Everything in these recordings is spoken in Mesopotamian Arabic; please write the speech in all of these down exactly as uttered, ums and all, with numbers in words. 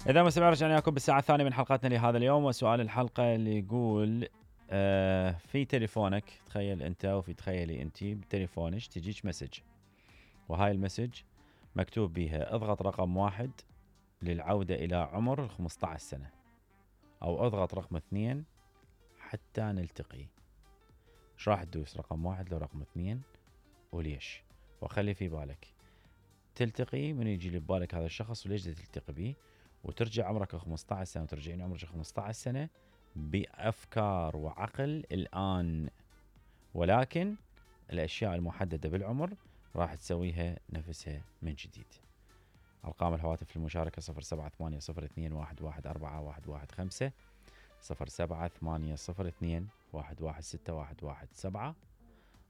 إذا مستمعين رجعنا لكم بالساعة الثانية من حلقتنا لهذا اليوم، وسؤال الحلقة اللي يقول آه في تليفونك، تخيل أنت وفي تخيلي أنت بتليفونك تجيك مسج، وهاي المسج مكتوب بيها اضغط رقم واحد للعودة إلى عمر خمسة عشر سنة، أو اضغط رقم اثنين حتى نلتقي. ايش راح تدوس؟ رقم واحد لو رقم اثنين؟ وليش؟ وخلي في بالك تلتقي من يجي ببالك هذا الشخص وليش تلتقي به، وترجع عمرك خمسة عشر سنة وترجعين عمرك خمسة عشر سنة بأفكار وعقل الآن، ولكن الأشياء المحددة بالعمر راح تسويها نفسها من جديد. أرقام الهواتف للمشاركة صفر سبعة ثمانية صفر اثنين واحد واحد أربعة واحد واحد خمسة، صفر سبعة ثمانية صفر اثنين واحد واحد ستة واحد واحد سبعة،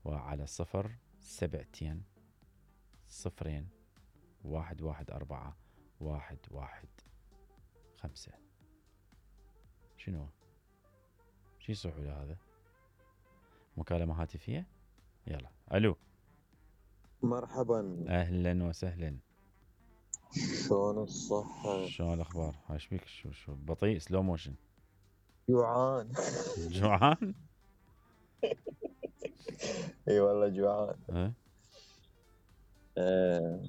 وعلى صفر سبعتين صفرين واحد واحد أربعة واحد واحد خمسة. شنو؟ شي صحوا هذا؟ مكالمة هاتفية؟ يلا. ألو. مرحبا. أهلا وسهلا. شلون الصحة؟ شلون الأخبار؟ ايش بيك؟ شو شو بطيء سلو موشن؟ جوعان. جوعان؟ اي والله جوعان. أه؟ أه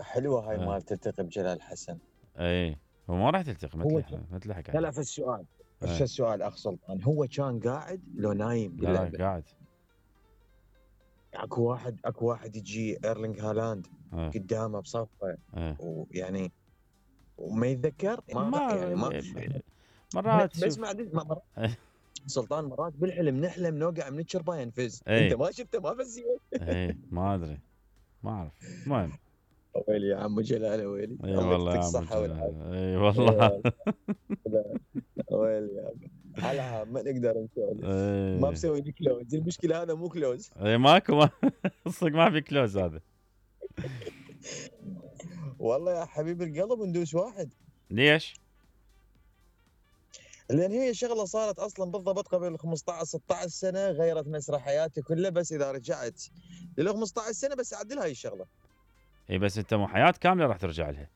حلوة هاي أه؟ مال تلتقي بجلال حسن. اي هو ما راح تلتقي هو مثل مثل حكى. لا لا في السؤال أه؟ في السؤال اخ سلطان، هو كان قاعد لو نايم لا باللعبة؟ لا قاعد. اكو واحد اكو واحد يجي ايرلينغ هالاند أه؟ قدامه بصفه، أه؟ ويعني وما يتذكر ما, ما يعني ما مرات بس شوف. ما مرات سلطان مرات بالحلم نحلم نوقع من الشربة ينفز. اي انت ما شفته ما فزي؟ اي ما ادري ما اعرف. المهم ويلي يا عم جلال ويلي، اي الله والله يعطيك يا عم الصحة والعافية. اي والله. ويلي يا عم على ما نقدر نسولف، ما اي بسوي لي كلوز، المشكلة هذا مو كلوز. اي ماكو ما صدق ما في كلوز هذا. والله يا حبيب القلب ندوس واحد. ليش؟ لان هي شغله صارت اصلا بالضبط قبل خمسة عشر ستة عشر سنه، غيرت مسرح حياتي كله، بس اذا رجعت لل خمسة عشر سنه بس اعدل هاي الشغله. اي بس انت مو حياة كاملة راح ترجع لها.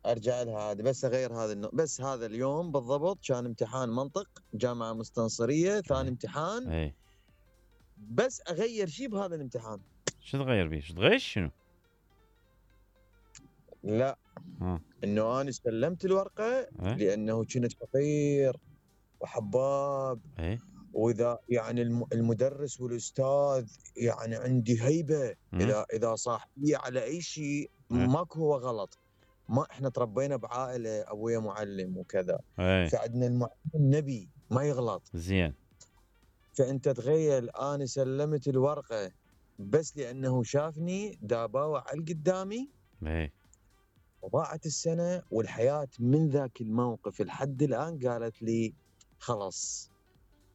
ارجع لها عادي، بس اغير هذا النوع. بس هذا اليوم بالضبط كان امتحان منطق جامعه مستنصريه، ثاني امتحان. اي بس اغير شيء بهذا الامتحان. شو تغير بيه؟ شو تغير شنو؟ لا ها انه انا استلمت الورقه ايه لانه كنت فقير وحباب، ايه واذا يعني الم- المدرس والاستاذ يعني عندي هيبه، مم. اذا اذا صاح بي على اي شيء ايه ماكو هو غلط. ما احنا تربينا بعائله ابويا معلم وكذا، ايه فعندنا المعلم نبي ما يغلط. زين. فانت تخيل انا سلمت الورقه بس لانه شافني داباوع على قدامي، ايه وضاعت السنه والحياه. من ذاك الموقف لحد الان قالت لي خلاص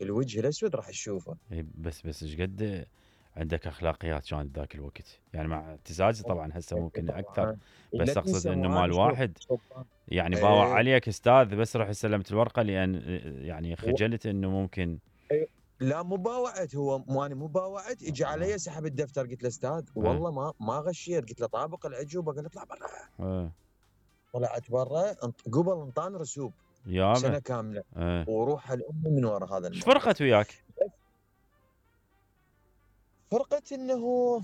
الوجه الاسود راح تشوفه. ايه بس بس ايش قد عندك اخلاقيات كانت ذاك الوقت؟ يعني مع اعتزازي طبعا هسه ممكن اكثر، طبعا بس لا اقصد تنسى انه مو انا مال شوف واحد شوف يعني باوع ايه عليك استاذ بس رحت سلمت الورقه لان يعني و... خجلت انه ممكن. إيه. لا مو باوعت، هو مو انا مو باوعت، اجى آه. علي سحب الدفتر. قلت له استاذ آه. والله ما ما غشيت، قلت له طابق العجوبه، قال اطلع برا. آه. طلعت برا، قبل انطان رسوب يابا. سنه كامله آه. وروح الام من ورا هذا ايش الموقف. فرقت وياك؟ فرقت انه هو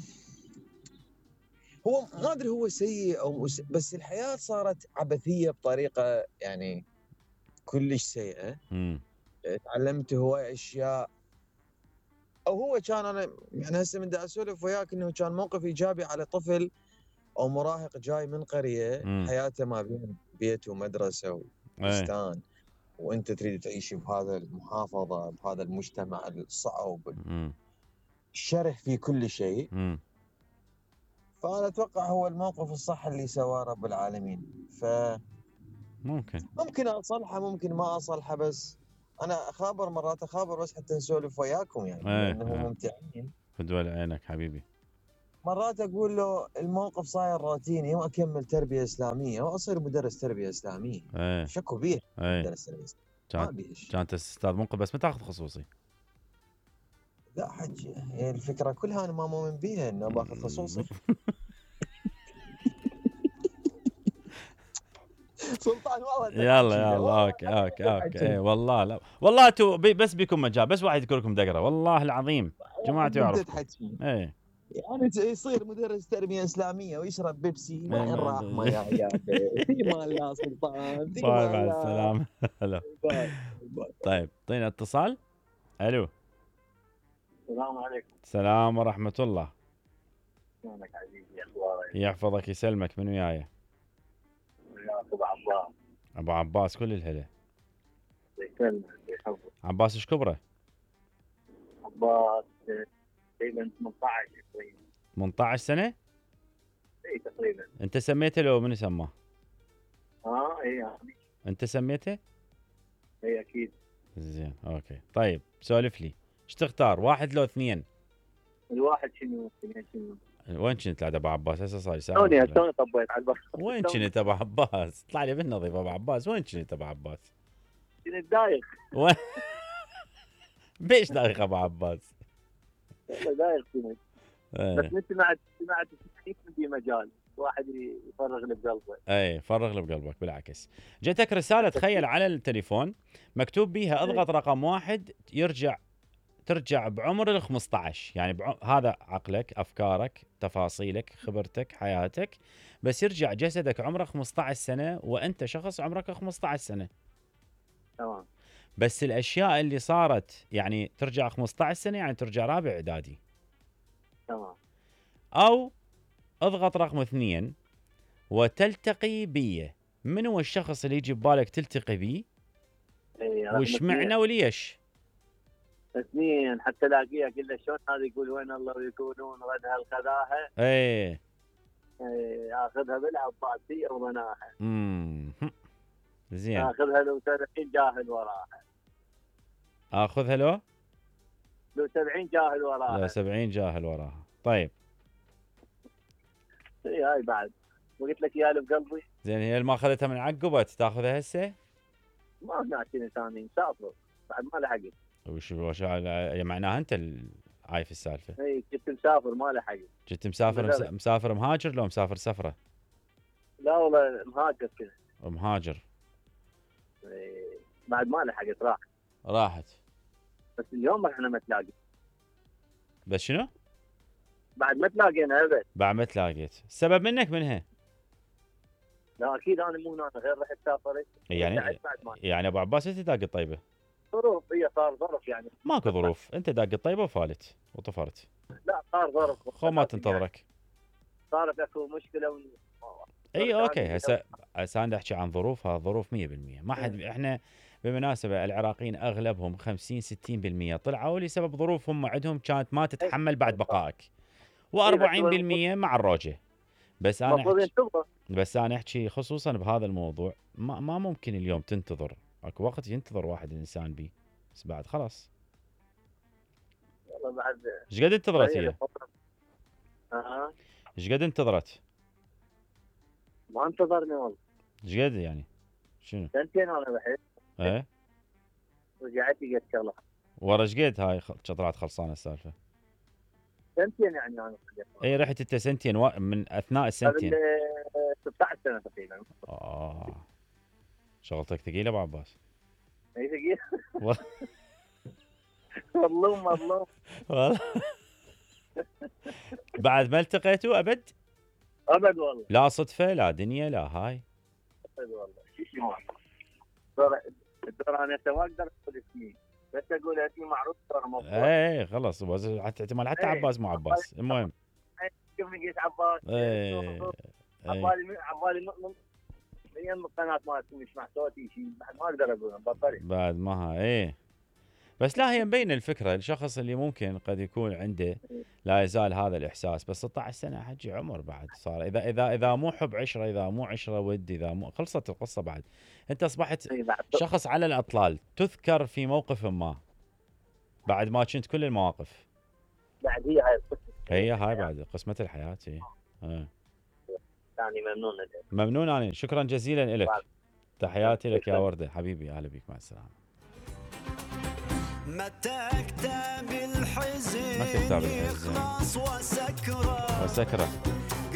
ما ادري هو سيء او مس... بس الحياه صارت عبثيه بطريقه يعني كلش سيئه. امم تعلمت هواي اشياء، او هو كان انا يعني هسه من دا اسولف وياك انه كان موقف ايجابي على طفل او مراهق جاي من قريه امم حياته ما بين بيت ومدرسه ايه وبستان، وانت تريد تعيش بهذا المحافظه بهذا المجتمع الصعب امم الشرح في كل شيء. امم فانا اتوقع هو الموقف الصح اللي سواه رب العالمين. ممكن. فممكن اصلحه ممكن ما اصلحه، بس انا اخابر مرات اخابر بس حتى نسولف وياكم يعني ايه لانه ايه ممتعين. فدوى عينك حبيبي. مرات اقول له الموقف صاير روتيني واكمل تربيه اسلاميه واصير مدرس تربيه اسلاميه. ايه شكو بيه ايه مدرس تربيه اسلاميه ما كانت بيش. كانت استاذ منقذ بس ما تاخذ خصوصي. لا حجي هي الفكره كلها انا ما مؤمن بيها انه باخذ خصوصي. سلطان والله يلا يلا اوكي اوكي اوكي اي والله لا والله تو بي بس بيكون مجال بس واحد يذكر لكم دقره والله العظيم جماعه يعرف اي يعني يصير مدرس تربيه اسلاميه ويشرب بيبسي وين راح ما يا يا مال لا سلطان باي مع السلامه. هلا طيب اعطينا اتصال. الو السلام عليكم. السلام ورحمه الله. شلونك عزيزي اخبارك؟ يحفظك يسلمك. من وياي؟ وياك ابو عباس. ابو عباس كل الهلا. يسلمك يحفظك. عباس ايش كبره؟ عباس تقريبا ثمانية عشر تقريبا. ثمانية عشر سنه؟ اي تقريبا. انت سميته لو من سماه؟ اه اي يعني. انت سميته؟ اي اكيد. زين اوكي طيب سولف لي ايش تختار واحد لو اثنين؟ الواحد شنو اثنين شنو؟ وين كنت ابو عباس؟ هسه صار ساعه. شلوني شلون طبيت على البحر؟ وين كنت ابو عباس؟ طلع لي بالنظيف ابو عباس. وين كنت ابو عباس؟ كنت دايخ. وين بيش دايخ ابو عباس؟ والله دايخ كنت. بس انت سمعت سمعت في مجال واحد يفرغ اللي بقلبه. اي فرغ اللي بقلبك بالعكس. جتك رساله تخيل على التليفون مكتوب بيها اضغط رقم واحد يرجع ترجع بعمر ال خمسة عشر، يعني بعم... هذا عقلك افكارك تفاصيلك خبرتك حياتك، بس يرجع جسدك عمره خمسة عشر سنه وانت شخص عمرك خمسة عشر سنه. تمام. بس الاشياء اللي صارت يعني ترجع خمسة عشر سنه يعني ترجع رابع اعدادي. تمام. او اضغط رقم اثنين وتلتقي بي. من هو الشخص اللي يجي ببالك تلتقي بيه؟ ايه وش معنى وليش؟ اثنين حتى الاقيه اقول له شلون هذا يقول وين الله ويكونون غد هالخذاها. ايه ايه اخذها بالعباسيه وضناها. امم زين. اخذها لو سبعين جاهل وراها. اخذها لو؟ لو سبعين جاهل وراها. لو سبعين جاهل وراها. طيب. اي هاي بعد وقلت لك يا اللي بقلبي. زين هي اللي ما اخذتها من عقبت تاخذها هسه؟ ما هناك ثاني مسافر بعد ما لحقت. وش وش معناها انت عايف السالفه؟ اي كنت مسافر ما لحقت. كنت مسافر مس... مسافر مهاجر لو مسافر سفره؟ لا والله مهاجر كذا. مهاجر. اي بعد ما لحقت راحت. راحت. بس اليوم احنا ما تلاقي. بس شنو؟ بعد ما تلاقينا ابد. بعد ما تلاقيت. السبب منك منها؟ لا اكيد انا مو انا غير رحت سافرت. يعني يعني ابو عباس انت داق الطيبه؟ ظروف هي صار ظرف يعني. ماكو ظروف انت داق الطيبه وفالت وطفرت. لا صار ظرف. خو ما تنتظرك. يعني صارت اكو مشكله و... اي اوكي هسه هسه انا احكي عن ظروفها ظروف مية بالمية ما حد احنا بالمناسبه العراقيين اغلبهم خمسين ستين بالمية طلعوا لسبب ظروف هم عندهم كانت ما تتحمل بعد بقائك وأربعين بالمية مع الروجه. بس انا أحكي بس انا احكي خصوصا بهذا الموضوع ما, ما ممكن اليوم تنتظر اكو وقت ينتظر واحد الانسان بيه بس بعد خلاص. والله بعد ايش قد انتظرت هي؟ اه ايش قد انتظرت؟ ما انتظرني والله. ايش قد يعني؟ شنو؟ سنتين انا بحث. ايه؟ رجعت لقيت شغله. ورا ايش قد هاي طلعت خلصانه السالفه؟ سنتين يعني انا. اي رحت انت سنتين و... من اثناء السنتين؟ ستة عشر سنه تقريبا. اه شغلتك ثقيله ابو عباس. اي ثقيله. مظلوم مظلوم. والله بعد ما التقيتوا ابد؟ ابد والله. لا صدفه لا دنيا لا هاي. ابد والله. شو الدور الدور انا ما اقدر اقول اسمي بس اقول اسمي معروف ترى موضوع. ايه خلص حتى احتمال حتى عباس مو عباس. المهم شوف لقيت عباس. ايه عبالي عبالي من يم القناه مالتي مش مع صوتي شيء بعد ما اقدر اقول بطري بعد ما ها ايه. بس لا هي مبينه الفكره الشخص اللي ممكن قد يكون عنده لا يزال هذا الاحساس بس ستة عشر سنه حجي عمر بعد صار اذا اذا اذا مو حب عشره اذا مو عشره ود اذا مو خلصت القصه بعد انت اصبحت شخص على الاطلال تذكر في موقف ما بعد ما كنت كل المواقف. بعد هي هاي هي هاي بعد قسمه الحياه هي. اه يعني ممنون لك. ممنون انا شكرا جزيلا لك. تحياتي لك يا ورده حبيبي اهلا بك مع السلامه. متى كتاب الحزن متى كتاب الحزن يخلص وسكره وسكره